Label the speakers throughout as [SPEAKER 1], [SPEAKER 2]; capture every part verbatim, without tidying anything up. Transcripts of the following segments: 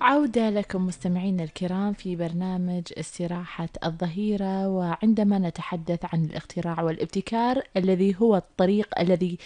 [SPEAKER 1] عودة لكم مستمعينا الكرام في برنامج استراحة الظهيرة، وعندما نتحدث عن الاختراع والابتكار الذي هو الطريق الذي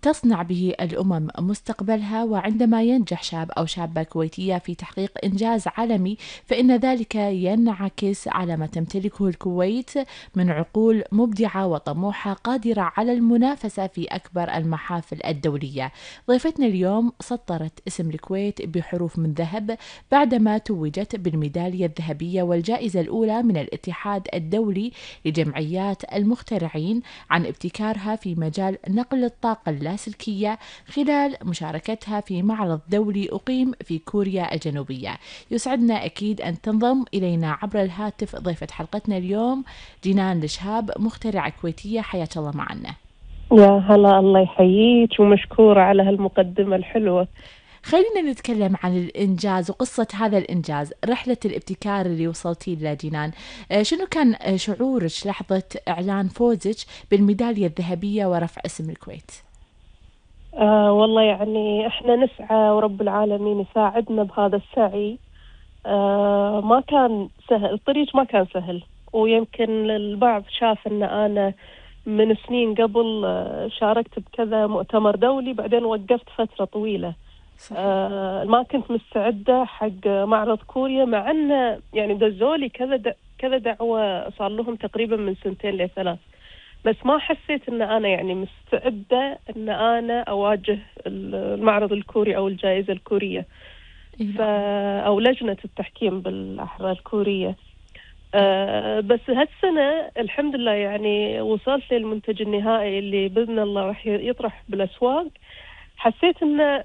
[SPEAKER 1] تصنع به الأمم مستقبلها. وعندما ينجح شاب أو شابة كويتية في تحقيق إنجاز عالمي، فإن ذلك ينعكس على ما تمتلكه الكويت من عقول مبدعة وطموحة قادرة على المنافسة في أكبر المحافل الدولية. ضيفتنا اليوم سطرت اسم الكويت بحروف من ذهب بعدما توجت بالميدالية الذهبية والجائزة الأولى من الاتحاد الدولي لجمعيات المخترعين عن ابتكارها في مجال نقل الطاقة اللاسلكية خلال مشاركتها في معرض دولي أقيم في كوريا الجنوبية. يسعدنا أكيد أن تنضم إلينا عبر الهاتف ضيفة حلقتنا اليوم جنان الشهاب، مخترعة كويتية. حياك الله معنا.
[SPEAKER 2] يا هلا، الله يحييك ومشكورة على هالمقدمة الحلوة.
[SPEAKER 1] خلينا نتكلم عن الإنجاز وقصة هذا الإنجاز، رحلة الابتكار اللي وصلتي لها جنان. شنو كان شعورك لحظة إعلان فوزك بالميدالية الذهبية ورفع اسم الكويت؟
[SPEAKER 2] آه والله يعني احنا نسعى ورب العالمين يساعدنا بهذا السعي. آه ما كان سهل، الطريق ما كان سهل، ويمكن البعض شاف ان انا من سنين قبل آه شاركت بكذا مؤتمر دولي، بعدين وقفت فترة طويلة.
[SPEAKER 1] صحيح.
[SPEAKER 2] آه ما كنت مستعدة حق معرض كوريا، مع أن يعني دزولي كذا د... كذا دعوة صار لهم تقريبا من سنتين لثلاث، بس ما حسيت أن أنا يعني مستعدة أن أنا أواجه المعرض الكوري أو الجائزة الكورية. ف... أو لجنة التحكيم بالأحرى الكورية. آه بس هالسنة الحمد لله يعني وصلت للمنتج النهائي اللي بإذن الله راح يطرح بالأسواق. حسيت أن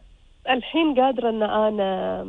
[SPEAKER 2] الحين قادرة أن أنا